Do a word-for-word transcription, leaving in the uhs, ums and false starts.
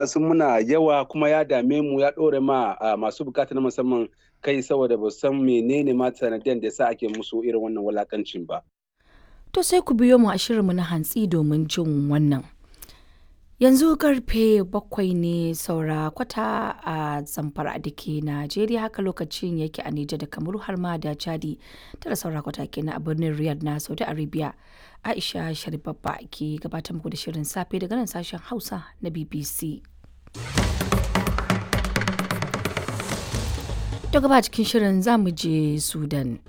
Sun muna yawa kuma ya dame mu, ya ɗore ma masu bukata na musamman kai, saboda ba san menene ma sanadiyan da sa ake musu irin wannan wulakancin ba. To sai ku biyo mu a shirinmu na hantsi domin jin wannan. Yanzu karfe bakwai ne saura kwata a Zamfara da ke Najeriya, haka lokacin yake a Nijar da Kamaru har ma da Chadi. Tara saura kwata kenan a birnin Riyadh na Saudi Arabia. Aisha Sharibabba ke gabatar muku da shirin safe daga nan sashen Hausa na B B C. To gaba cikin shirin, za mu je Sudan.